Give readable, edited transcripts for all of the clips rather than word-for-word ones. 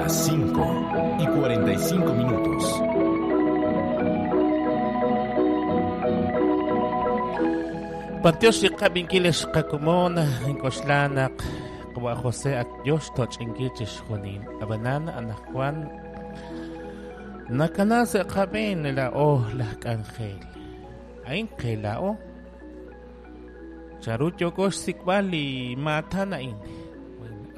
Las 5:45 minutos. B'antiox li qab'inkil ex qakomon, ink'oxla naq qawa' José ak yo xtoch'inkil chixjunil. Ab'anan anaqwan nakana sa' qab'een laa'o laj k'anjel. A'in qe laa'o. Chanru yooko xsik'b'al li maatan a'in?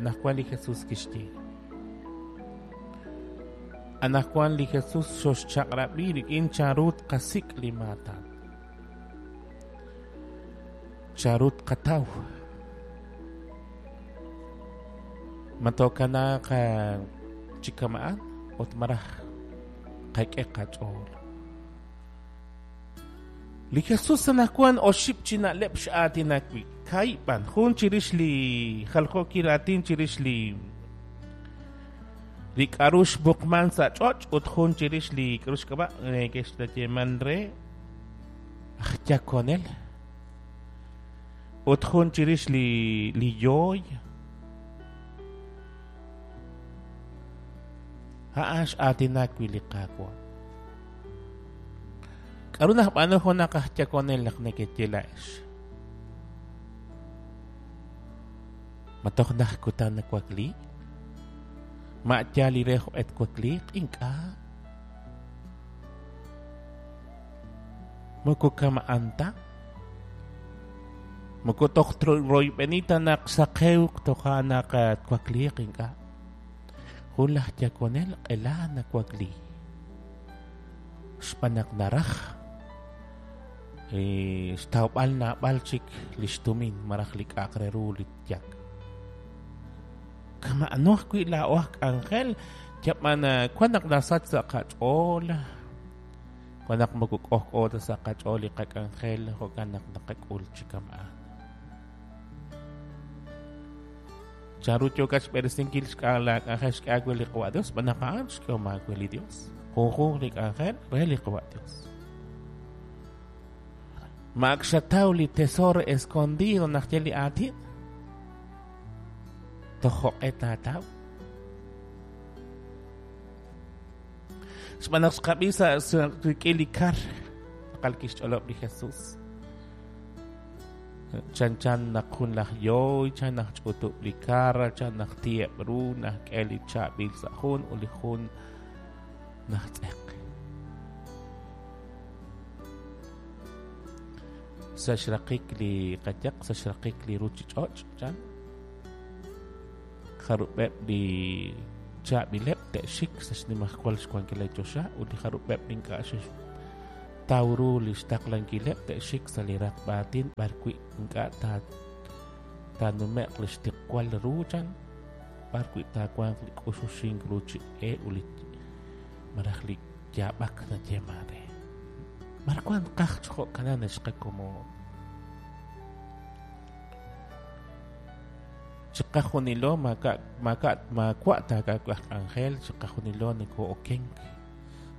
Anaqwan li Jesús kixye. Anaqwan li Jesús xoxchaq'rab'i rik'in chanru tqasik' li maatan. Chanru tqataw? Ma tookanaaq chi kama'an ut maraj qak'e qach'ool? Li Jesús anaqwan oxib' chi na'leb' x'aatinak wi'. Kaahib' b'an, jun chirix li jaljookil aatin chirix li li k'a'ru xmuqman sa' ch'och' ut jun chirix li k'a'ru xk'ab'a' neke'xyeeman re aj yakonel ut jun chirix li li yooy. A'an x'aatinak wi' li Qaawa'. K'aru najb'aanu junaq aj yakonel naq nekeye laa'ex? Ma toj naj kutan nawakli? Ma yaal li re jo'q'e twakliiq? Ink'a'. Moko kama'an ta. Moko toj royb'eni ta naq saqewq toja' naq twakliiq ink'a'. Jun laj yakonel q'ela nawakli. Xb'aan naq naraj xtawb'al naab'al chik li xtumin malaj li k'a'aq re ru li yak. Kama'ano ajwi' laa'o aj k'anjel, yab'an wan naq nasach sa' qach'ool, wan naq moko k'ojk'o ta sa' qach'ool li qak'anjel, jo'kan naq naqak'ul chi kama'an. Chanru yookat xb'eresinkil laak'anjel xk'e aawe li Qawa' Dios? Xb'aan naq a'an xk'ehom aawe li Dios. Junjunq li k'anjel re li Qawa' Dios. Ma ak xataw li tesoro escondido naq ye li aatin? Toj jo'q'e taataw? Xb'aan naq xqab'i sa' rik'in li kar, tz'aqal kixch'olob' li Jesus. Chanchan naq jun laj yooy, chan naq ch'utub' li kar, chan naq ti'eb' ru, naq k'e li chaab'il sa' jun ut li jun najtz'eq. Sa' xraqik li qayaq, sa' xraqik li ruchich'och', chan jarub'eb' li chaab'ileb' te'xik sa' xnimajwal xwankil li choxa ut li jarub'eb' li ink'a' xe'xtaw ru li xtaqlankileb' te'xik sa' li raqb'a aatin b'arwi' ink'a' taanume'q li xtiqwal ru chan b'arwi' taawanq li k'uxuxink ru chi e ut li malaj li yaab'ak nayeeman re. B'ar wank qaj chi jo'kanan ex qakomon? Chiqajunilo maak'a' maak'a' maawa' taak'a'aq aj k'anjel, chiqajunilo noko'okenk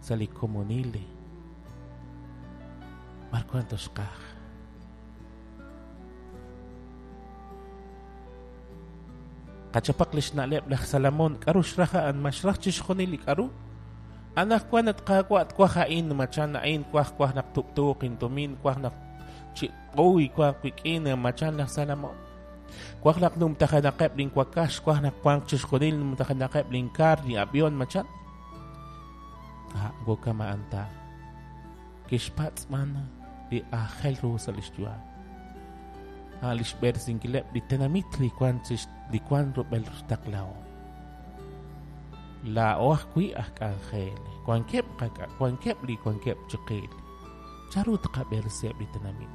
sa' li komonil. B'ar wank toxqaj? Qachapaq li xna'leb' laj Salomón. K'aru xraj a'an? Ma xraj chixjunil li k'aru? Anaqwan at Qaawa' twaj a'in, machan a'in, twaj twaj naq tub'tuuq intumin, twaj naq chi uy wanq wik'in, machan laj Salomón. Twaj naq numtajenaqeb' linwakax, twaj naq wanq chixjunil numtajenaqeb' linkaar, li avión, machan. Ah, moko kama'an ta. Kixpatz' b'an li aajel ru sa' lix yu'am. A' lix b'eresinkileb' li tenamit li wan li wan rub'el xtaqlahom. Laa'o ajwi' aj k'anjel, wankeb' wankeb' li wankeb' chiqil. Chanru tqab'eresiheb' li tenamit?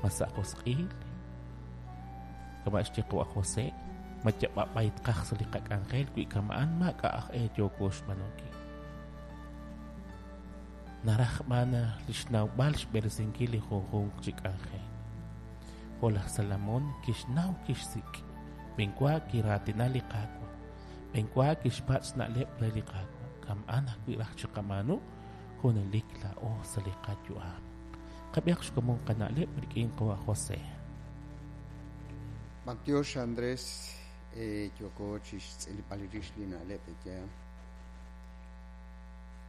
Ma sa' josq'il? Kama' xye qawa' José, ma yab'ab'ay tqaj sa' li qak'anjel wi kama'an maak'a' aj e yooko xb'aanunkil. Naraj b'an li xnawb'al xb'eresinkil li junjunq chi k'anjel. Jo' laj Salomón kixnaw kixsik', b'enwa kiraatina li Qaawa', b'enwa kixpatz' na'leb' re li Qaawa', kama'an ajwi' raj chiqab'aanu junelik laa'o sa' li qayu'am. Qab'ihaq xkomon qana'leb' rik'in qawa' José. B'antiox Andrés. Yooko chixtz'ilb'al rix li na'leb' yaal.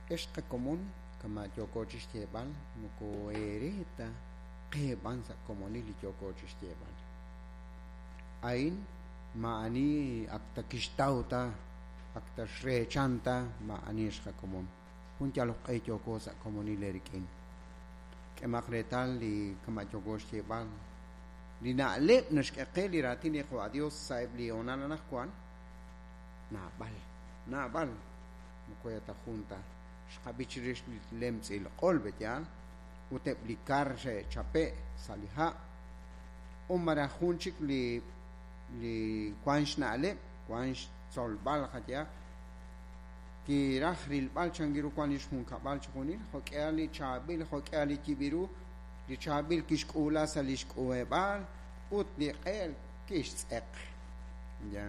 Ex qakomon kama' yooko chixyeeb'al moko eere ta qe b'an sa' komonil li yooko chixyeeb'al. A'in maa'ani ak ta kixtaw ta ak ta xreechan ta maa'ani ex qakomon. Jun yalok q'e yooko sa' komonil eerik'in. K'emaq reetal li kama' yooko xyeeb'al li na'leb' naxk'e qe li raatin li Qaawa' Dios sa'eb' li hoonal anaqwan naab'al naab'al moko ta jun ta xqab'i chirix li lemtz'il q'ol be'yaal ut eb' li kar xe'chape' sa' li ha' o malaj jun chik li wan xna'leb' wan xtzolb'al qayehaq kiraj rilb'al chankiru wan li xjunkab'al chijunil jo'k'ihal li chaab'il jo'k'ihal li yib'iru li chaab'il kixk'uula sa' li xk'uub'al ut li q'eel kixtz'eq. Ya.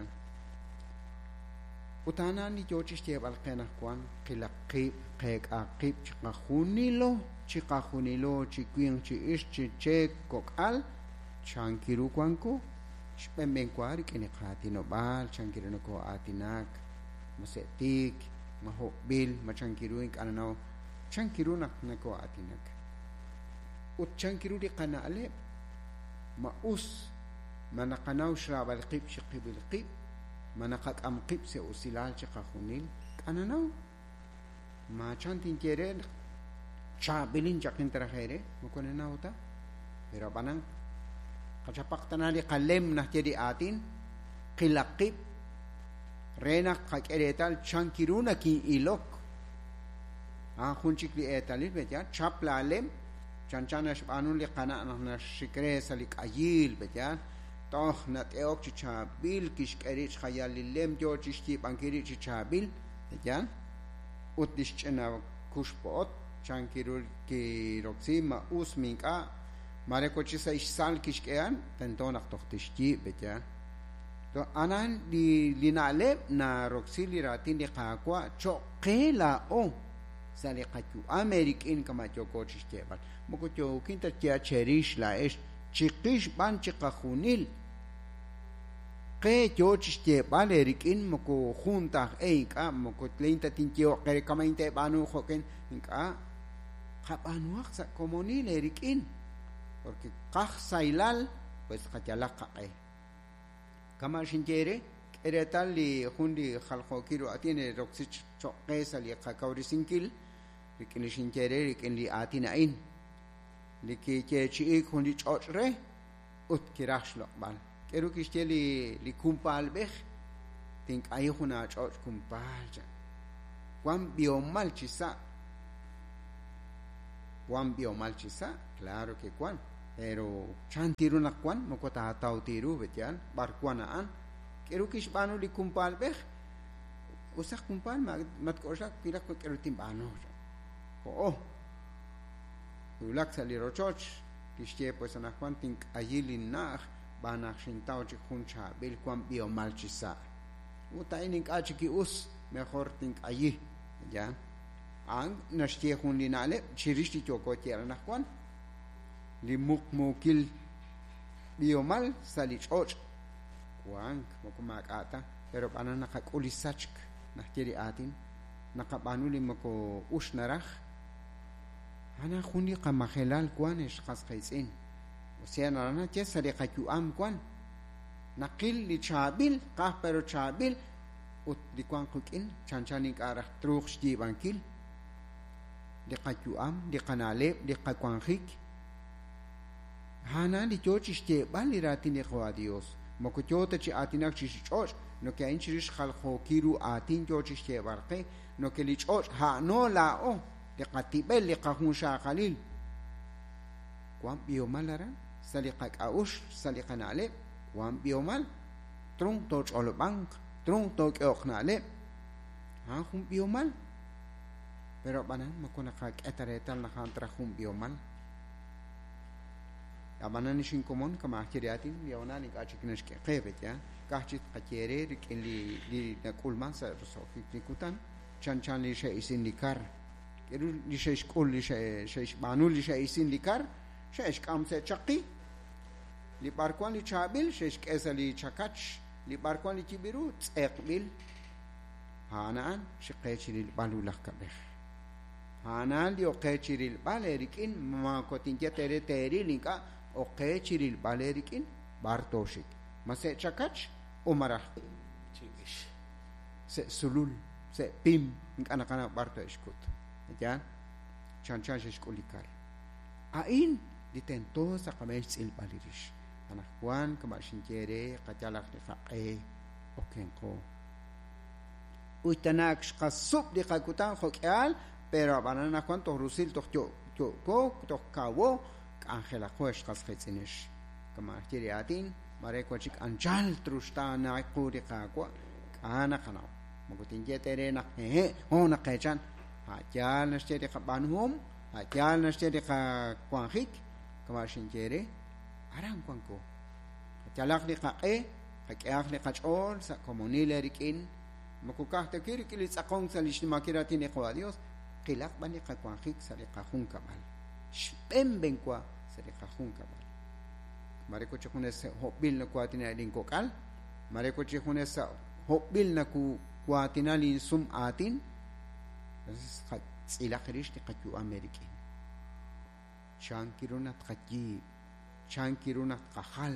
Ut a'an li yoo chixyeeb'al qe anaqwan qilaq qib' qeek'a qib' chiqajunilo chiqajunilo chi winq chi ixq chi cheek kok'al chankiru wanko xb'enb'enwa rik'in li qaatinob'aal chankiru nokoo'aatinak ma se'tiik ma hob'il ma chankiru ink'a' nanaw chankiru naq nakoo'aatinak ut chankiru li qana'leb' ma us ma naqanaw xraab'al qib' chiqib'il qib' ma naqak'am qib' sa' usilal chiqajunil k'ananaw ma chan tinye re chaab'ilin chaqin taraj eere moko nanaw ta pero ab'anan qachapaq tana li qalem najye li aatin qilaq qib' re naq qak'e reetal chankiru nakin'ilok a'an jun chik li eetalil be'yaal chap laalem chanchan naxb'aanu li qana' naq naxik re sa' li k'ayiil be'yaal toj nat'e'ok chi chaab'il kixk'e rib' xjayal li lem yoo chixyiib'ankil rib' chi chaab'il be'yaal ut li xch'ina kuxpo'ot chankiru kiroksi ma us mi ink'a' mare wachi sa' xsal kixk'ehan tento naq toj tixyiib' be'yaal anan li na'leb' naroksi li raatin li Qaawa' cho'q qe laa'o sa' li qayu'am eerik'in kama' yooko chixyeeb'al moko yookin ta cherix laa'ex chiqix b'an chiqajunil qe yoo chixyeeb'al eerik'in moko jun ta aj e ink'a' moko tlein ta tinyee'oq qe kama' inteeb'aanu jo'kin ink'a' qab'aanuhaq sa' komonil eerik'in porque qaj saylal pues qayalaq qaq'e kama' xinye re k'e reetal li jun li jaljookil ru aatin roksi cho'q qe sa' li qakawresinkil rik'in li xinye re rik'in li aatin a'in li kiyeechi'iik jun li ch'och' re ut kiraj xloq'b'al k'eru kixye li kumpaalb'ej tink'ayi jun aach'och' kumpaal cha wan b'ihomal chi sa' wan b'ihomal chi sa' claro que wan pero chan tiru naq wan moko taataw tiru be'yaal b'ar wan a'an k'eru kixb'aanu li kumpaalb'ej usaq kumpaal matk'oxlak kilaq k'eru tinb'aanu jo'o wulak sa' li rochoch kixye pues anaqwan tink'ayi linna'aj b'aan naq xintaw chik jun chaab'il wan b'ihomal chi sa' ut a'in ink'a' chik ki'us mejor tink'ayi ya a'an naxye jun li na'leb' chirix li yooko yeeb'al anaqwan li muqmuukil b'ihomal sa' li ch'och' wank moko maak'a' ta pero b'anan naqak'ul li sachk najye li aatin naqab'aanu li moko ux naraj ana jun li qamajelal wan ex qas qiitz'in osea naraj naye sa' li qayu'am wan naqil li chaab'il qaj pero chaab'il ut li wan qik'in chanchan ink'a' raj truuq xyiib'ankil li qayu'am li qana'leb' li qawanjik a'an li yoo chixyeeb'al li raatin li Qaawa' Dios moko yoo ta chi aatinak chirix ch'och' noke a'in chirix jaljookil ru aatin yoo chixyeeb'al qe noke li ch'och' a'ano laa'o li qatib'el li qajunxaqalil wan b'ihomal aran sa' li qak'a'uxl sa' li qana'leb' wan b'ihomal trunk tooch'olob'anq trunk took'ehoq na'leb' a'an jun b'ihomal pero ab'anan moko naqak'e ta reetal naq a'an traj jun b'ihomal ab'anan xinkomon kama' aj ye li aatin li hoonal ink'a' chik naxk'e qe be'yaal ka'aj chik qaye re rik'in li nak'ulman sa' roso'jik li kutan chanchan li xe'isin li kar k'eru li xe'xk'ul li xe'xb'aanu li xe'isin li kar xe'xk'am sa' chaqi li b'ar wan li chaab'il xe'xk'e sa' li chakach Li b'arwan li yib'ru tz'eqb'il. A'an a'an xiqe chi rilb'al ulaj kab'ej. A'an a'an li oqe chi rilb'al eerik'in moko tinye tere teeril ink'a' oqe chi rilb'al eerik'in b'ar tooxik. Ma se' chakach o maraj Chirix. se' sulul, se' pim, ink'a' naqanaw b'ar to'exkut. Yaal? Chanchan xe'xk'ul li kar. A'in li tento sa' qab'een xtz'ilb'al li rix. Anaqwan kama' xinye re qayalaq li qaq'e okenqo. Uy tana ak xqasub' li qakutan jo'k'ihal, pero ab'anan anaqwan toj rusil toj yo'ko, toj kawo, k'anjelaqo ex qas qiitz'inex. Kama' xye li aatin, mare wan chik anchal truxtaana qu li Qaawa', k'a' naqanaw. Moko tinye tere naq hehe', ho naqeechan. A' yaal naxye li qab'aanuhom, a' yaal naxye li qawanjik, kama' xinye re, aran wanko. Qayalaq li qaq'e, qak'ehaq li qach'ool sa' komonil eerik'in, moko ka'aj ta wi' rik'in li tz'aqonk sa' li xnimankil raatin li Qaawa' Dios, qilaq b'an li qawanjik sa' li qajunkab'al. Xb'een wa sa' li qajunkab'al. Mare ko chi junes hob'il nakuaatina linkok'al, mare ko chi junes hob'il nakuaatina linsum aatin, entonces tz'ilaq rix li qayu'am eerik'in. Chan kiru naq tqayiib', chan kiru naq tqajal,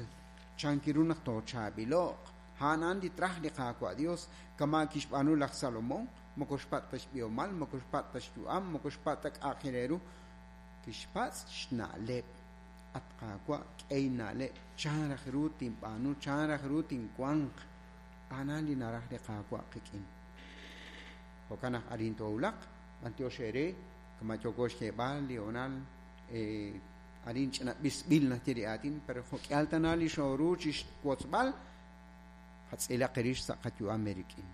chan kiru naq toochaab'ilo'q. A'an a'an li traj li Qaawa' Dios, kama' kixb'aanu laj Salomón, moko xpatz' ta xb'ihomal, moko xpatz' ta xyu'am, moko xpatz' ta k'a'aq re ru. Kixpatz' xna'leb'. At Qaawa' k'ey na'leb', chan raj ru tinb'aanu, chan raj ru tinwanq. A'an a'an li naraj li Qaawa' qik'in. Jo'kan naq arin toowulaq, b'antiox eere, kama' yooko xyeeb'al li honal, arin ch'ina b'isb'il naxye li aatin, pero jo'k'ihal tana li xooru chixwotzb'al, qatz'ilaq rix sa' qayu'am eerik'in.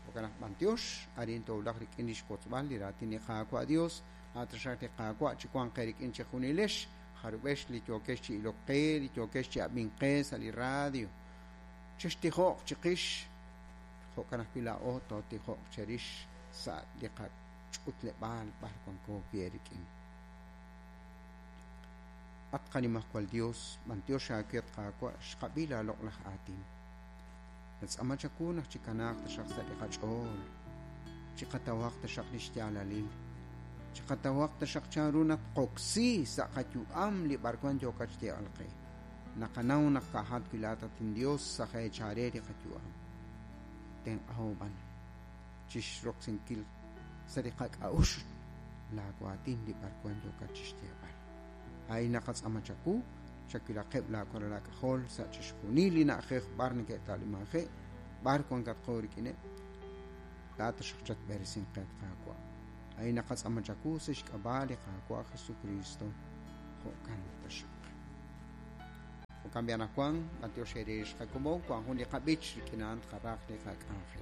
Jo'kan naq b'antiox, arin toowulaq rik'in li xwotzb'al li raatin li Qaawa' Dios, a'taxaq li Qaawa' chi wanq eerik'in chejunilex, jarub'ex li yookex chi ilok qe, li yookex chi ab'ink qe sa' li radio. Chextijo'q chiqix, jo'kan ajwi' laa'o tootijo'q cherix sa' li qach'utleb'aal b'ar wanko wi' eerik'in. At qanimajwal Dios, b'antiox aawe at Qaawa' xqab'i laaloq'laj aatin. Natz'ama chawu naq chikanaaq taxaq sa' li qach'ool, chiqatawaq taxaq li xyaalalil, chiqatawaq taxaq chanru naq qoksi sa' qayu'am li b'arwan yookat xyeeb'al qe. Naqanaw naq ka'ajat wi' laa'at at Dios sa' jeechare li qayu'am. Tenq'aho b'an chixroksinkil sa' li qak'a'uxl laawaatin li b'arwan yookat chixyeeb'al. A'in naqatz'ama chawu, chawilaqeb' laawaralal aak'ajol sa' chixjunil li na'ajej b'ar neke'ta'limanje', b'ar wankatqo rik'ineb', laa'at taxaq chatb'eresinq qe at Qaawa'. A'in naqatz'ama chawu sa' xk'ab'a' li Qaawa' Jesucristo, jo'kan taxaq. Jo'kan b'i anaqwan, b'antiox eere xqakomon, wan jun li qab'ich rik'in a'an tqaraj li qak'anjel.